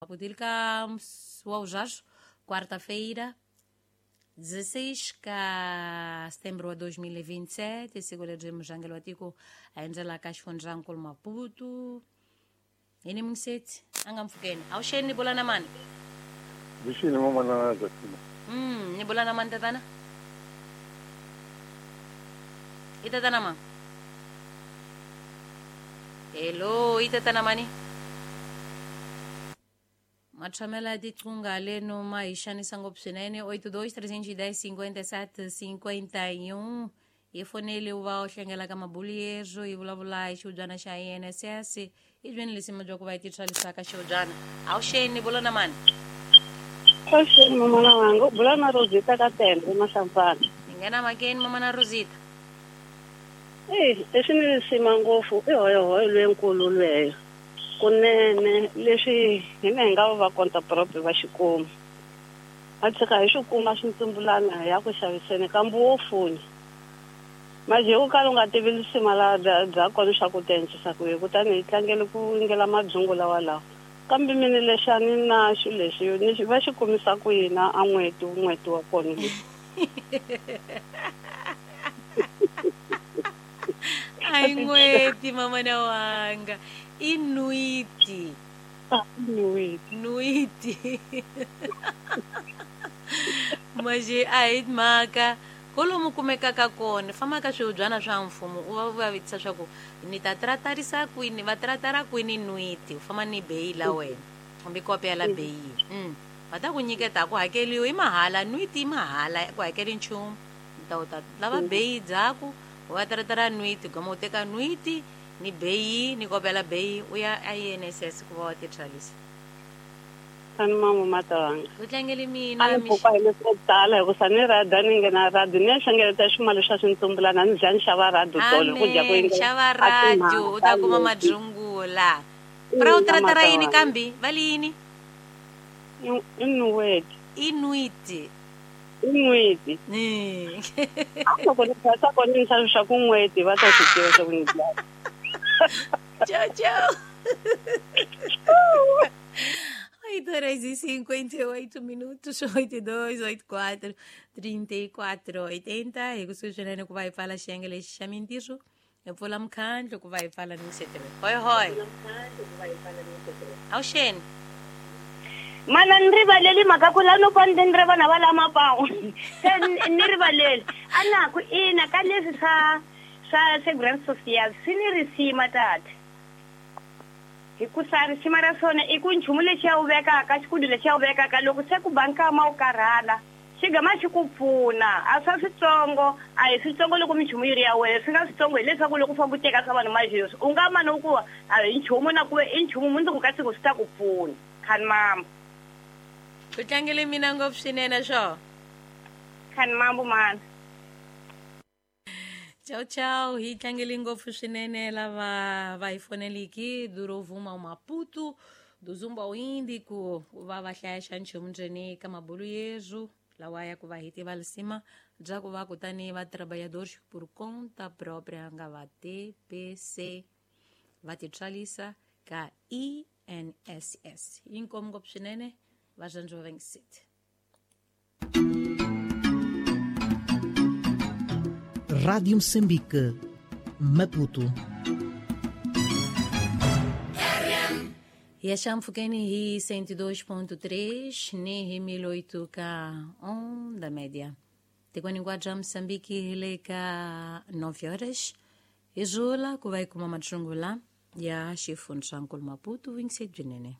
Maputo ka wa quarta-feira 16 ka setembro wa 2027, siku leri mujangelo wa tiko a endzela ka xifundzankulu Maputo. Yini mungiseti a nga mpfukeni awuxeni ni bula na mani? Vixini mamana Justina. Ni bula na mani tatana? I tatana ma? Hello, i tatana mani? Matshamela ya tiqunga leno ma hi xanisa ngopfu swinene. 82 310 57 51 hi fonele u va u hlengela ka mabulu hi vulavula hi xihubyana xa INSS i byeni lesima bya ku va hi titswalisaka xihubyana. Awuxeni, bula na mani? Awuxeni mamana wanga, u bula na Rosita ka Tende eMahlampfana. Hi nghena makeni mamana Rosita. Eyi, leswi ni risima ngopfu i hoyohoyo lwenkulu lweyo. Kunene leswi hina hi nga va kontapropi va xikuma. A tshika hi swi kuma swintsumbulana hi ya ku xaviseni kambe wo funya. Manje u kala u nga tivi lisima la bya kona swa ku ti endlisa ku yini, kutani hi tlangele ku ingela mabyungu lawa lawa. Kambe mina lexi a ni na xilo lexi ni va xi kumisa ku yini a n'hweti n'hweti wa kona lexi. A hi n'hweti mamana wanga, i nwiti. Nwiti. Nwiti. Manje a hi mhaka kolomu kumekaka kona famba ka swihubyana swa mfumo u va va vutisa swa ku ni ta tratarisa kwini, va tratara kwini nwiti, u famba ni beyi la wena kumbe kopi ya la beyi. Va ta ku nyiketa ku hakeliwa i mahala, nwiti i mahala, ku hakeli nchumu. Ta u ta lava beyi dzaku u va tratara nwiti, gama u teka nwiti ni beyi ni kopi ya la beyi u ya INSS ku va wa titswalisa. Ani mama matawanga. Ku tlangele mina. A ni pfuka hi leswo tala hikusa ni rhadi a ni nghena rhadi ni ya hlengeleta ximali xa swintsumbulana ni dya ni xava rhadi tolo ku dya ku Amen, xava radio u ta kuma madzungula. Pra u tratara yini kambi? Va li yini? I nweti. I nwiti. I nweti. Loko ni phasa kona ni xava swa ku nweti va ta swi tiva swa ku ni dya. Tchau, tchau. 8h58, 82, 84, 34, 80. Hi kusuhi swinene ku va hi pfala xiyenge lexi xa mintirho, hi pfula mukhandlu ku va hi pfala ni setere. Hoi hoi. Awuxeni. Mana ni rivaleli mhaka ku la no pa ni ri vana va la mapawu. Se ni rivaleli. A na ku ina ka leswi swa Segurança Social swi ni risima tata. Hikusa risima ra swona i ku nchumu lexi ya wu vekaka, xikudu lexi ya wu vekaka loko se ku ba nkama wu karhala, xi gama xi ku pfuna. A swa switsongo, a hi switsongo loko minchumu yi ri ya wena, swi nga switsongo hileswaku loko u famba u teka swa vanhu mazheswi, u nga mani u ku a hi nchumu na ku ve i nchumu mundzuku ka siku swi ta ku pfuna. Khani mambo. Ku tlangele mina ngopfu swinene swo. Khani mambo mana. Tchau, tchau. Hi tlangele ngopfu swinene lava va hi foneliki Durovuma Maputo do Zumba ao Índico va va hlaya xa nchumu ndzeni ka mabulu yezu lawa ya ku va hi tiva lisima bya ku va kutani va trabalhadores por conta própria nga va TPC va titswalisa ka INSS. Inkomu ngopfu swinene va zwandziwa va ngiseti. Rádio Moçambique, Maputo. Ya xampfukeni hi 102.3 ni hi 1008 ka onda média. Tikweni hinkwabyo bya Moçambique hi le ka 9 horas. Hi zula ku va hi kuma matsungula ya xifundzankulu Maputo, 27 byi nene.